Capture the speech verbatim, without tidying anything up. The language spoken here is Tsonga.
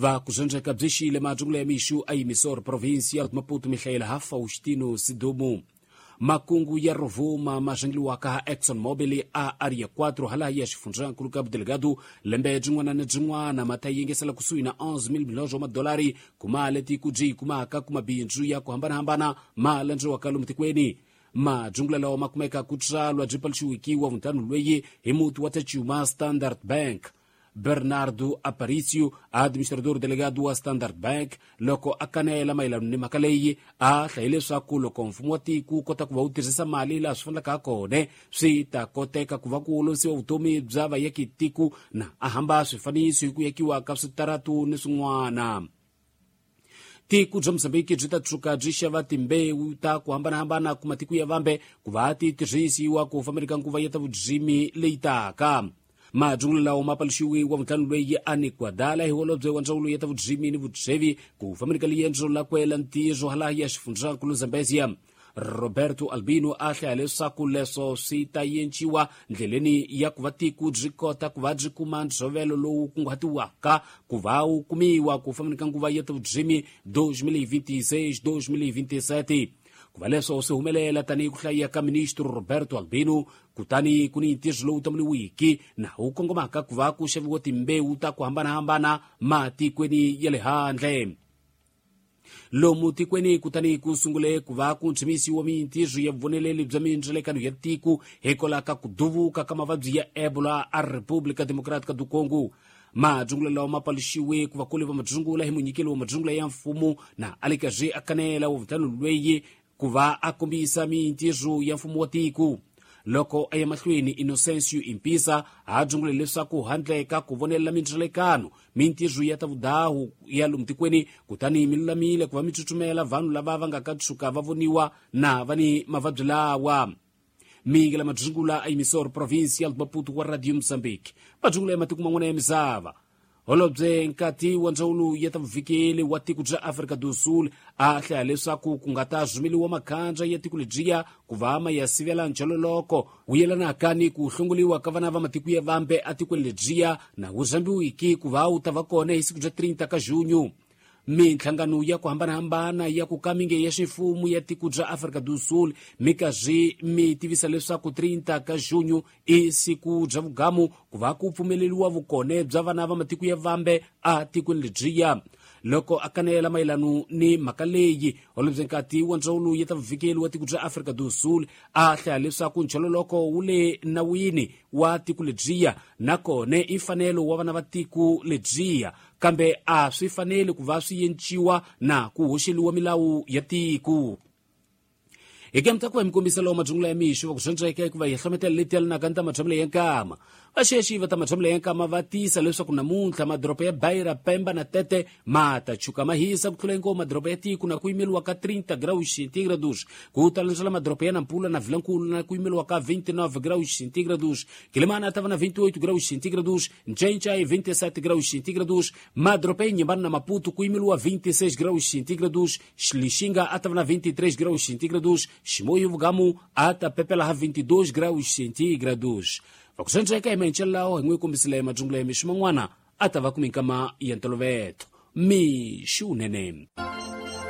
Va kuzonjeka bzixile majungula ya mixu a Emissora Provincial de Maputo Michael ha Faustino Sidumo. Makungu ya Rovuma mazhengliwaka ha Exxon Mobil a Area quatro hala ya xifundzankulu Cabo Delgado lembe byin'wana na byin'wana ma ta yingisela kusuhi na onze mil milhões wa madolari kuma leti ku byi kumaka ku mabindzu ya ku hambanahambana ma landziwaka lomu tikweni. Majungula lawa ma kumeka ku tswalwa byi paluxiwikiwa vuntlhanu lweyi hi muti wa Tachuma Standard Bank. Bernardo Aparicio, administrador delegado wa Standard Bank, loko a kanela mayelana ni mhaka leyi a hlaye leswaku loko mfumo wa tiko wu kota ku va wu tirhisa mali laha swi fanelaka kona swi ta koteka ku va ku olovisiwa vutomi bya vayaki tiko na a hamba swifaniso hi ku yakiwa ka switaratu ni swin'wana. Tiko bya Mozambique byi ta tshuka byi xava timbewu ta ku hambanahambana ku matiko ya vambe ku va ti tirhisiwa ku fambeleka nguva ya ta vudzimi leyi taka. Majungula lawa ma paluxiwe wa vuntlhanu lweyi a ni Guadala hi holobye wa ndzawulo ya ta vudzimi ni vutsevi ku fambeleka liendzo la kwela ntirho hala ya xifundzankulu Zambezia. Roberto Albino a hlaya leswaku leswo swi ta yenciwa ndleleni ya ku va tiko byi kota ku va byi kuma ntshovelo lowu kunguhatiwaka ku va wu kumiwa ku fambeleka nguva ya ta vudzimi dois mil e vinte e seis dois mil e vinte e sete. Ku va leswo swi humelela tanihi ku hlaya ka ministro Roberto Albino kutani ku ni ntirho lowu tamuriwiki na wu kongomaka ku va ku xaviwa timbewu ta ku hambanahambana matikweni ya le handle. Lomu tikweni kutani ku sungule ku va ku ntshimisiwa mintirho ya vuvoneleli bya mindzelekano ya tiko hikwalaho ka ku duvuka ka mavabyi ya Ebola a República Democrática do Congo. Majungula lawa ma paluxiwe ku vakulu va majungula hi munyikeli wa majungula ya mfumo na a le karhi a kanela wa vuntlhanu lweyi ku va a kombisa mintirho ya mfumo wa tiko. Loko a ya mahlweni Inocencio Impisa a dzungule leswaku handle ka ku vonelela mindzelekano mintirho ya ta vudahu ya lomu tikweni kutani mi lulamile ku va mi tsutsumela vanhu lava va nga ka tshuka va voniwa na va ni mavabyi lawa. Mingela madzungula a Emissora Provincial de Maputo wa Radio Mozambique. Madzungula ya matiko man'wana ya misava. Holobye nkati wa ndzawulo ya ta vuvikeli wa tiko bya Afrika do Sul a hlaya leswaku ku nga ta rhumeliwa makhanja ya tiko lebyiya ku va ma ya sivela njhololoko wu yelanaka ni ku hlongoliwa ka vana va matiko ya vambe atikweni lebyiya na wu rhambiwiki ku va wu ta va kona hi siku bya trinta ka junho. Minhlangano ya ku hambanahambana ya ku kaminge ya ximfumo ya tiko bya Afrika do Sul mi karhi mi tivisa leswaku trinta ka junho i siku bya vugamu ku va ku pfumeleriwa vukone bya vana va matiko ya vambe a tikweni lebyiya. Loko a kanela mayelano ni mhaka leyi holobye nkati wa ndzawulo ya ta vuvikeli wa tiko bya Afrika do Sul a hlaya leswaku nchololoko wu le nawini wa tiko lebyiya nakona i mfanelo wa vana va tiko lebyiya kambe a swi fanele ku va swi yenciwa na ku hoxeliwa milawu ya tiko. Hi kemta ku va mi kombisa lawa majungula ya mixo va ku dyondzeka hikuva hi hlometela leti yelanaka ni ta matshamelo ya nkama. Vaxexi va ta matshamelo ya nkama va tisa leswaku namuntlha madoroba ya Beira, Pemba na Tete ma ta chuka ma hisa ku tlula hinkwawo madoroba ya tiko na ku yimeriwa ka trinta graus centígrados. Ku ta landzela madoroba ya Nampula na Vilankulu na ku yimeriwa ka vinte e nove graus centígrados. Quelimane ta va na vinte e oito graus centígrados, Ncencai vinte e sete graus centígrados, madoroba ya Inhambane na Maputo ku yimeriwa vinte e seis graus centígrados, Lixinga a ta va na vinte e três graus centígrados, Chimoio Vugamu ata pepela ha vinte e dois graus centígrados. Vakusendzeka hi menchelawo hi n'wi kombisile majungula ya mixo man'wana a ta va ku minkama ya ntoloveto. Mixo wunene.